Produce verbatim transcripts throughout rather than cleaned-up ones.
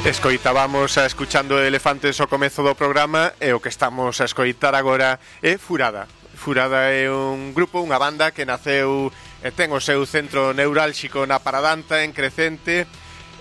Escoitábamos a escuchando Elefantes ao comezo do programa e o que estamos a escoitar agora é Furada. Furada é un grupo, unha banda que naceu e ten o seu centro neurálxico na Paradanta, en Crecente.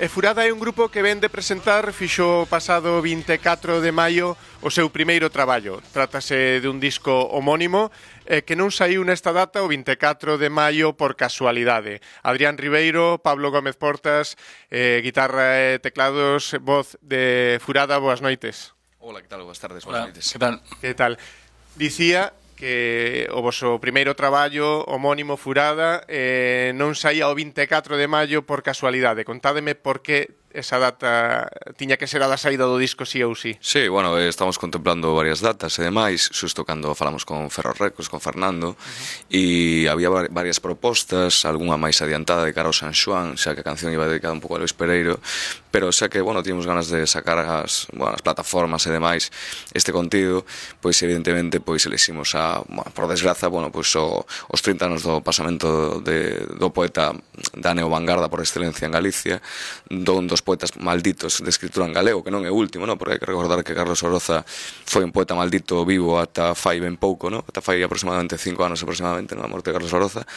E Furada é un grupo que ven de presentar, fixo o pasado vinte e catro de maio, o seu primeiro traballo. Trátase de un disco homónimo eh, que non saiu nesta data o vinte e catro de maio por casualidade. Adrián Ribeiro, Pablo Gómez Portas, eh, guitarra e teclados, voz de Furada, boas noites. Hola, que tal? Boas tardes, boas noites. Que tal? Que tal? Dicía que o voso primeiro traballo homónimo Furada eh, non saía o vinte e catro de maio por casualidade. Contádeme por que esa data tiña que ser a da saída do disco sí ou sí. Sí, bueno, eh, estamos contemplando varias datas e demais, xusto cando falamos con Ferro Records, con Fernando, e uh-huh. había varias propostas, algunha máis adiantada de cara ao San Xoán, xa que a canción iba dedicada un pouco a Luis Pereiro, pero xa que, bueno, tínhamos ganas de sacar as, bueno, as plataformas e demais este contido, pois evidentemente pois eliximos a, bueno, por desgraza, bueno, pois o, os trinta anos do pasamento de, do poeta da neovangarda por excelencia en Galicia, don dos poetas malditos de escritura en galego, que non é o último, no? Porque hai que recordar que Carlos Oroza foi un poeta maldito vivo ata fai ben pouco, no? Ata fai aproximadamente cinco anos aproximadamente, no? A morte de Carlos Oroza,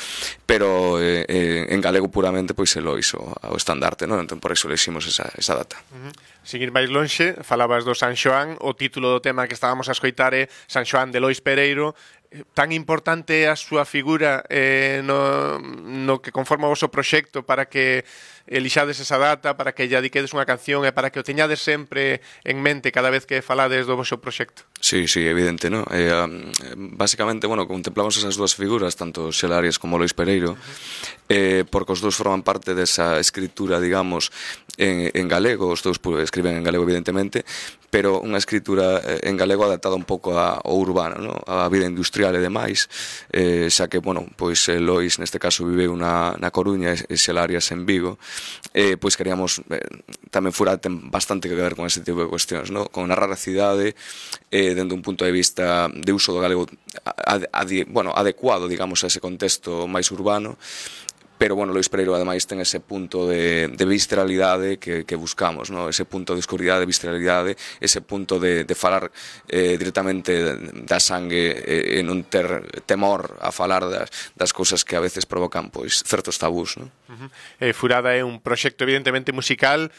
pero eh, eh, en galego puramente pois se lo hizo ao estandarte, no? Entón por iso leximos esa, esa data. Uh-huh. Seguir máis lonxe, falabas do San Xoán, o título do tema que estábamos a escoitar é San Xoán de Lois Pereiro. Tan importante é a súa figura eh, no, no que conforma o vosso proxecto para que elixades esa data, para que lle dediquedes unha canción e para que o teñades sempre en mente cada vez que falades do vosso proxecto. Sí, sí, evidente, ¿no? Eh, um, básicamente, bueno, contemplamos esas dúas figuras, tanto Xela Arias como Lois Pereiro, uh-huh. eh, porque os dous forman parte desa escritura, digamos, en, en galego, os dous escriben en galego, evidentemente, pero unha escritura en galego adaptada un pouco ao urbano, ¿no? A vida industrial e demais, eh, xa que, bueno, pois Lois neste caso viveu na, na Coruña e Xela Arias en Vigo, eh, pois queríamos, eh, tamén Furada ten bastante que ver con ese tipo de cuestións, ¿no? Con narrar a cidade, eh, dende un punto de vista de uso do galego ad, ad, bueno, adecuado, digamos, a ese contexto máis urbano. Pero, bueno, Lois Pereiro, ademais, ten ese punto de, de visceralidade que, que buscamos, ¿no? Ese punto de oscuridade, de visceralidade, ese punto de, de falar eh, directamente da sangue e eh, non ter temor a falar das, das cousas que a veces provocan, pois, certos tabús, ¿no? Uh-huh. eh, Furada é un proxecto evidentemente musical,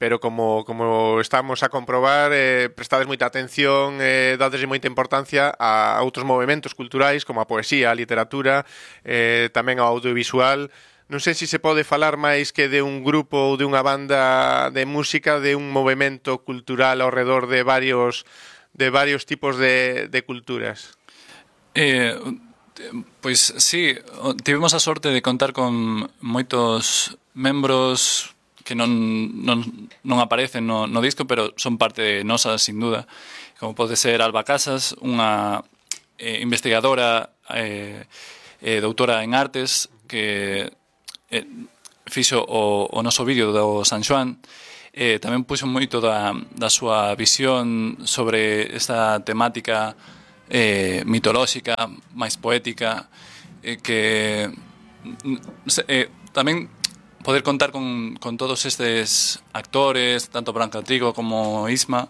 pero como, como estamos a comprobar, eh, prestades moita atención, eh, dades moita importancia a outros movimentos culturais como a poesía, a literatura, eh, tamén ao audiovisual. Non sei se se pode falar máis que de un grupo ou de unha banda de música, de un movimento cultural ao redor de varios de varios tipos de, de culturas. Eh, pois sí, tivemos a sorte de contar con moitos membros que non, non, non aparecen no, no disco, pero son parte nosa, sin duda, como pode ser Alba Casas, unha eh, investigadora eh, eh, doutora en artes que eh, fixo o, o noso vídeo do San Xoán. Eh, tamén puxo moito da, da súa visión sobre esta temática eh, mitolóxica, máis poética, eh, que eh, tamén poder contar con, con todos estes actores, tanto Branca Trigo como Isma,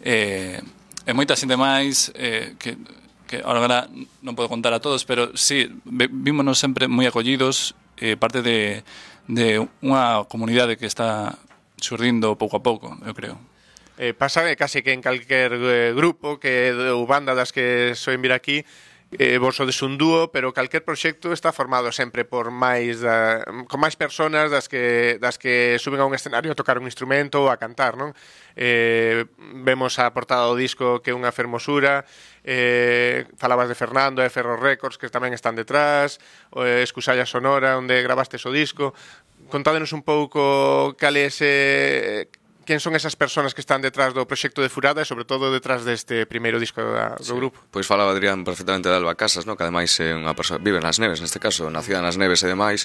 eh, e moita xente máis, eh, que, que agora non podo contar a todos, pero sí, vímonos sempre moi acollidos, eh, parte de, de unha comunidade que está surdindo pouco a pouco, eu creo. Eh, pasa que case que en calquer eh, grupo que ou banda das que soen vir aquí, Eh, vos sodes un dúo, pero calquer proxecto está formado sempre por máis da, con máis personas das que das que suben a un escenario a tocar un instrumento ou a cantar, non? Eh, vemos a portada do disco que é unha fermosura, eh, falabas de Fernando e Ferro Records que tamén están detrás, o eh, Escusalla Sonora onde grabastes o disco. Contádenos un pouco cal é ese... Quen son esas persoas que están detrás do proxecto de Furada e sobre todo detrás deste primeiro disco da, do sí. grupo? Pois falaba Adrián perfectamente de Alba Casas, no? Que ademais é unha persoa vive nas Neves, neste caso, nacida nas Neves e demais.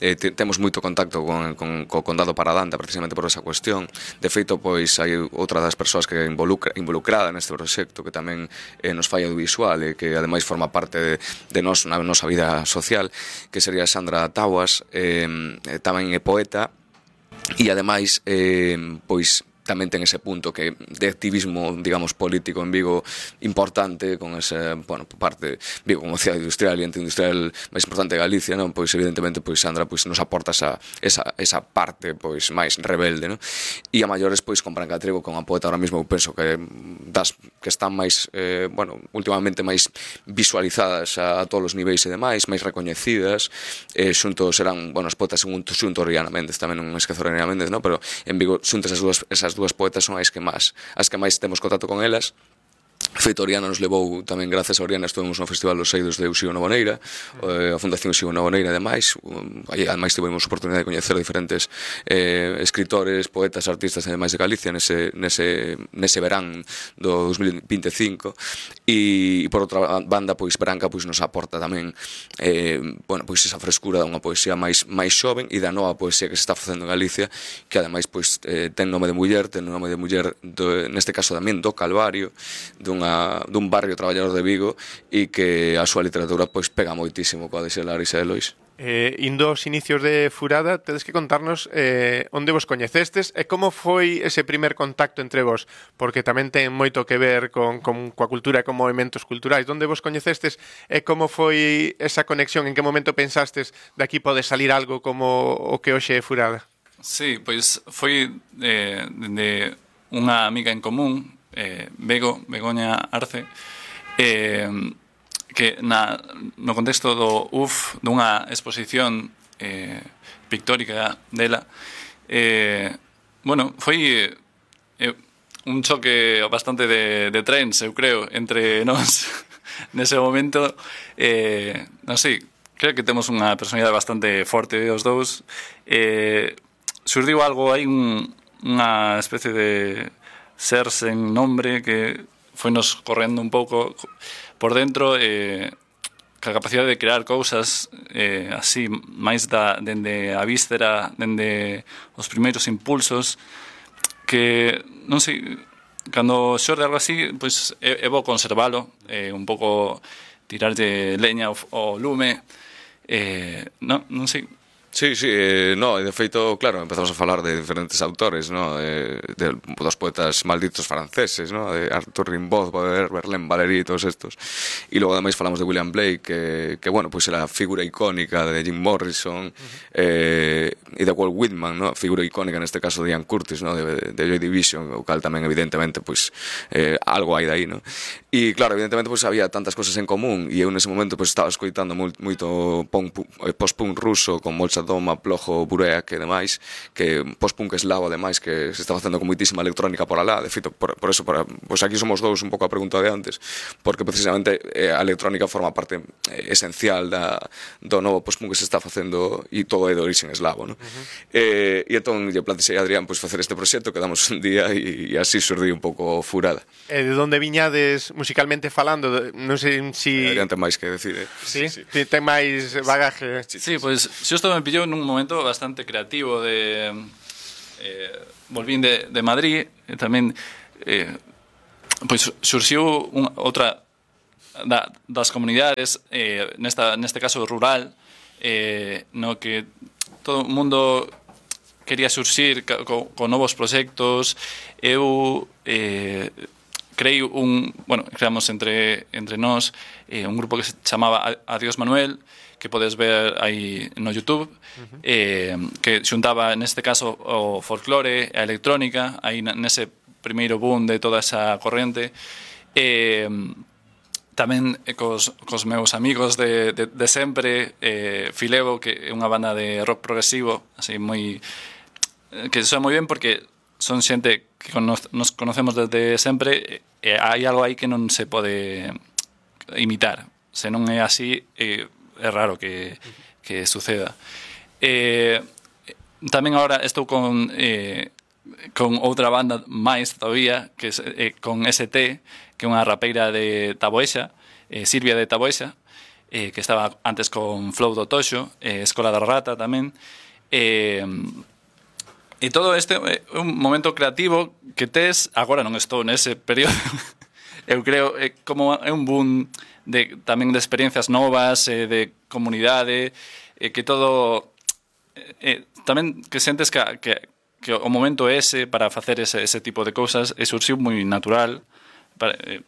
Eh, te, temos moito contacto con, con, co condado Paradanta precisamente por esa cuestión. De feito, pois hai outra das persoas que involucra, involucrada neste proxecto que tamén eh, nos fai audiovisual e que ademais forma parte de, de nos, na nosa vida social, que sería Sandra Taguas, eh, tamén é poeta. E ademais, eh, pois tamén ten ese punto que de activismo, digamos, político en Vigo importante, con esa, bueno, parte Vigo como cidade industrial e ente industrial máis importante de Galicia, non? Pois evidentemente pois Sandra pois nos aporta esa esa esa parte pois máis rebelde, non? E a maiores pois con Branca Trigo, con a poeta ahora mesmo eu penso que das que están máis eh, bueno, últimamente máis visualizadas a, a todos os niveis e demais, máis recoñecidas, eh, xunto serán, bueno, as poetas xunto, xunto Oriana Méndez, tamén non esquezo Oriana Méndez, non? Pero en Vigo xuntas as dúas, esas dúas poetas son as que máis as que máis temos contacto con elas. Feito, Oriana nos levou tamén, gracias a Oriana, estuvemos no Festival dos Eidos de Uxío Novoneira, eh, a Fundación Uxío Novoneira, ademais, aí ademais tivemos oportunidade de coñecer diferentes eh, escritores, poetas, artistas e demais de Galicia nese, nese, nese verán do dos mil veinticinco, e, e por outra banda, pois Branca pois nos aporta tamén eh, bueno, pois esa frescura dunha poesía máis, máis xoven e da nova poesía que se está facendo en Galicia, que ademais pois eh, ten nome de muller, ten nome de muller do, neste caso tamén do Calvario, dun Unha, dun barrio traballador de Vigo e que a súa literatura pois pega moitísimo coa de Xelaris e de Lois. Eh, indo aos inicios de Furada, tedes que contarnos eh, onde vos coñecestes e como foi ese primer contacto entre vos, porque tamén ten moito que ver con, con coa cultura e con movimentos culturais. Onde vos coñecestes e como foi esa conexión, en que momento pensastes de aquí pode salir algo como o que hoxe é Furada? Sí, pois foi eh, de unha amiga en común, Eh, Bego, Begoña Arce, eh, que na, no contexto do U F dunha exposición eh, pictórica dela, eh, bueno, foi eh, un choque bastante de, de trens, eu creo, entre nós nese momento. Eh, non sei, creo que temos unha personalidade bastante forte os dous. Eh, surdiu algo aí, un, unha especie de ser sen nombre que foi nos correndo un pouco por dentro, eh, ca capacidade de crear cousas eh, así, máis da, dende a víscera, dende os primeiros impulsos, que, non sei, cando xorde algo así, pois é, é bo conservalo, eh, un pouco tirarlle leña ao, ao lume, eh, non, non sei. Sí, sí, eh, no, e de feito, claro, empezamos a falar de diferentes autores, no? de, de, dos poetas malditos franceses, no? De Arthur Rimbaud, Baudelaire, Verlaine, Valéry, todos estos. E logo ademais falamos de William Blake, que, que bueno, pois pues era a figura icónica de Jim Morrison, uh-huh. eh, e de Walt Whitman, no? Figura icónica neste caso de Ian Curtis, no? de, de Joy Division, o cal tamén evidentemente pois pues, eh, algo hai daí, no? E claro, evidentemente pois pues, había tantas cosas en común, e eu nese momento pois pues, estaba escoitando moito post-punk ruso con Molchat Doma, Plojo, Bureak e demais, que post-punk eslavo ademais, que se está facendo con moitísima electrónica por alá. De feito, por, por eso, por, pois aquí somos dous un pouco a pregunta de antes, porque precisamente eh, a electrónica forma parte eh, esencial da, do novo post-punk que se está facendo, e todo é de orixen eslavo, no? Uh-huh. eh, e entón lle plantexei a Adrián pois, facer este proxecto, quedamos un día e, e así surdiu un pouco Furada. E de onde viñades musicalmente falando? Non sei si... Adrián ten máis que decir, eh? Sí? Sí, sí. Ten máis bagaje. Sí, pois, pues, xusto me pillou nun momento bastante creativo de eh, volvín de, de Madrid e tamén eh, pois surxiu un, outra da, das comunidades eh, nesta, neste caso rural, eh, no que todo o mundo quería surxir co, con novos proxectos. Eu eh, creei un, bueno, creamos entre, entre nós eh, un grupo que se chamaba Adiós Manuel, que podes ver aí no YouTube, uh-huh. eh, que xuntaba neste caso o folclore, a electrónica, aí nese primeiro boom de toda esa corrente, eh, tamén cos, cos meus amigos de, de, de sempre, eh, Filevo, que é unha banda de rock progresivo, así moi, que soa moi ben porque son xente que cono, nos conocemos desde sempre, e hai algo aí que non se pode imitar, se non é así, eh, é raro que, que suceda. Eh, tamén agora estou con eh, con outra banda máis todavía, que é eh, con S T, que é unha rapeira de Taboexa, eh, Silvia de Taboexa, eh, que estaba antes con Flow do Toxo, eh, Escola da Rata tamén. Eh, e todo este é un momento creativo que tes, agora non estou nese período, eu creo, é como é un boom de, tamén de experiencias novas, eh, de comunidade, eh, que todo eh, tamén que sentes que, que, que o momento é ese para facer ese, ese tipo de cousas e surxiu moi natural. Para, eh,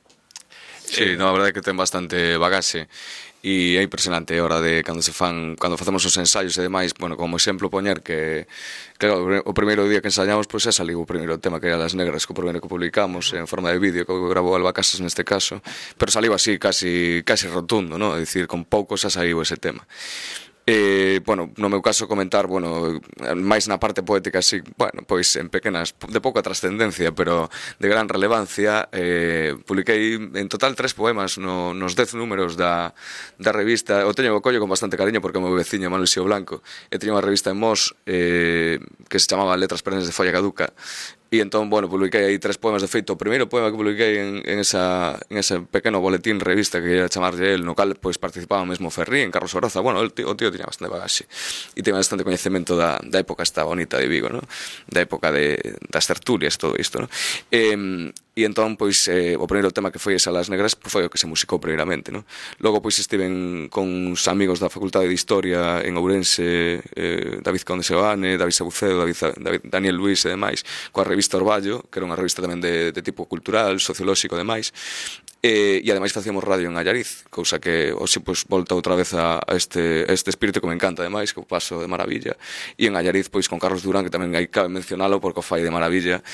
Sí, no, a verdade é que ten bastante bagaxe e é impresionante a hora de cando se fan, cando facemos os ensaios e demais, bueno, como exemplo poñer que claro, o primeiro día que ensaiamos pois pues, é saliu o primeiro tema que era Las Negras, que o primeiro que publicamos en forma de vídeo, que grabou Alba Casas neste caso, pero saliu así casi casi rotundo, ¿no? É dicir, con pouco xa saiu ese tema. Eh, bueno, no meu caso comentar, bueno, máis na parte poética así, bueno, pois en pequenas, de pouca trascendencia, pero de gran relevancia, eh, publiquei en total tres poemas no, nos dez números da, da revista. O teño o collo con bastante cariño porque o meu veciño Manuel Xío Blanco e tiña unha revista en Mos eh, que se chamaba Letras Perennes de Folla Caduca. E entón, bueno, publiquei aí tres poemas. De feito, o primeiro poema que publiquei en, en, esa, en ese pequeno boletín revista que ia chamarlle el, no cal pois participaba mesmo Ferrí, en Carlos Oroza. Bueno, el tío, o tío tiña bastante bagaxe e tiña bastante coñecemento da, da época esta bonita de Vigo, ¿no? Da época de, das tertulias, todo isto, ¿no? E, e entón, pois, eh, o primeiro tema que foi esa Las Negras pois, foi o que se musicou primeiramente, ¿no? Logo, pois, estiven con uns amigos da Facultade de Historia en Ourense, eh, David Conde Seoane, David Sabucedo, David, David, Daniel Luis e demais, coa revista Orballo, que era unha revista tamén de, de tipo cultural, sociolóxico e demais, e, e ademais facíamos radio en Allariz, cousa que hoxe pois, volta outra vez a, a este, a este espírito que me encanta ademais, que o paso de maravilla, e en Allariz pois con Carlos Durán, que tamén hai cabe mencionalo porque o fai de maravilla,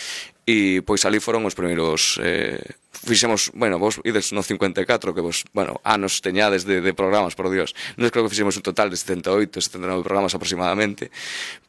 e pois ali foron os primeiros eh, fixemos, bueno, vos ides no cincuenta e catro que vos, bueno, anos teñades de, de programas, por Dios, non creo que fixemos un total de setenta e oito, setenta e nove programas aproximadamente,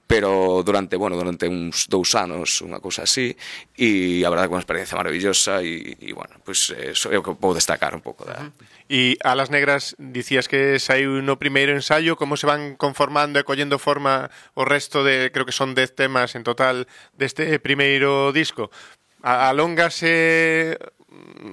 pero durante, bueno, durante uns dous anos, unha cousa así, e a verdade que unha experiencia maravillosa e, e bueno, pois pues, eso é o que vou destacar un pouco da... E a Las Negras dicías que saiu no primeiro ensaio, como se van conformando e collendo forma o resto de, creo que son dez temas en total deste primeiro disco? Alóngase,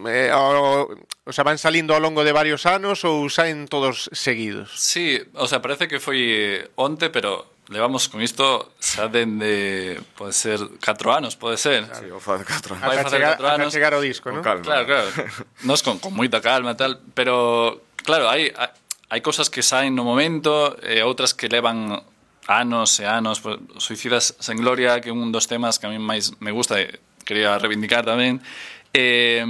eh, o, o sea, van salindo ao longo de varios anos ou saen todos seguidos? Sí, o sea, parece que foi onte, pero levamos con isto xa dende, pode ser, catro anos, pode ser. Sí, o fa de catro anos. Vai facer catro anos. Ata chegar ao disco, non? Con calma. Claro, claro. Nos con, con moita calma e tal, pero claro, hai hai cousas que saen no momento e outras que levan anos e anos. Pues, Suicidas sen Gloria, que é un dos temas que a mí máis me gusta e quería reivindicar tamén. Eh,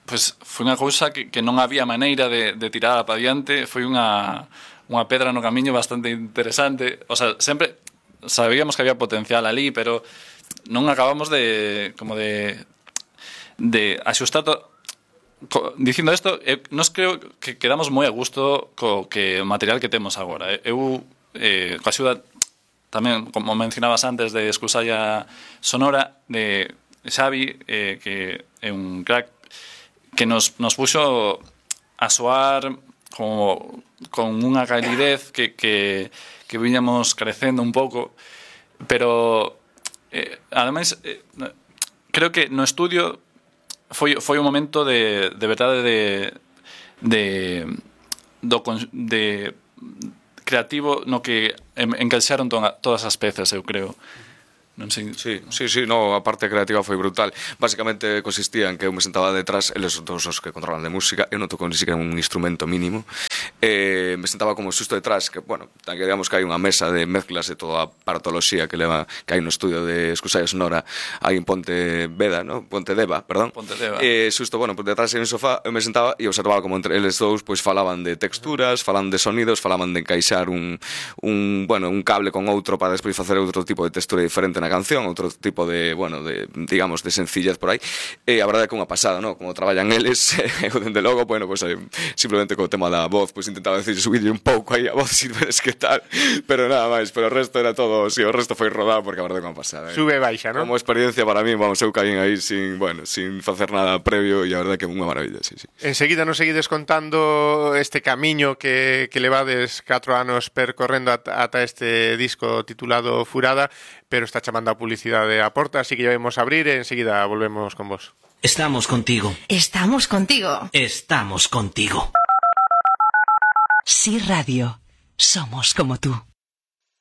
pues foi unha cousa que, que non había maneira de, de tirar para diante, foi unha unha pedra no camiño bastante interesante. O sea, sempre sabíamos que había potencial ali, pero non acabamos de como de de axustar to... Dicindo isto, eu, nos creo que quedamos moi a gusto co que o material que temos agora. Eu, eh, coa axuda tamén, como mencionabas antes, de Escusalla Sonora, de Xavi, eh, que é un crack que nos, nos puxo a soar como con unha calidez que, que, que viñamos crecendo un pouco, pero eh, ademais eh, creo que no estudio foi, foi un momento de, de verdade de, de, do, de creativo no que encaixaron to todas as pezas, eu creo. Non sei. Sí, sí, sí, no, a parte creativa foi brutal. Básicamente consistía en que eu me sentaba detrás, eles son todos os que controlan de música, eu non toco ni siquiera un instrumento mínimo, eh, me sentaba como xusto detrás, que, bueno, que digamos que hai unha mesa de mezclas de toda a aparatoloxía que leva, que hai no estudio de Escusalla Sonora, hai en Ponteveda, no? Pontedeva, perdón. Pontedeva. Eh, xusto, bueno, pues detrás hai un sofá, eu me sentaba e observaba como entre eles dous, pois falaban de texturas, falaban de sonidos, falaban de encaixar un, un, bueno, un cable con outro para despois facer outro tipo de textura diferente na canción, outro tipo de, bueno, de, digamos, de sencillez por aí, e a verdade é que unha pasada, ¿no? Como traballan eles, eu dende logo, bueno, pues, eh, simplemente co tema da voz, pues intentaba decir, subirle un pouco aí a voz, si veres que tal, pero nada máis, pero o resto era todo, si, sí, o resto foi rodado, porque a verdade é que unha pasada, eh? Sube e baixa, ¿no? Como experiencia para mí, vamos, eu caín aí sin, bueno, sin facer nada previo, e a verdade é que é unha maravilla, sí, sí. Enseguida nos seguides contando este camiño que, que levades catro anos percorrendo ata, ata este disco titulado Furada, pero está chamando a publicidade a porta, así que ya vamos a abrir e enseguida volvemos con vos. Estamos contigo. Estamos contigo. Estamos contigo. Sí Radio. Somos como tú.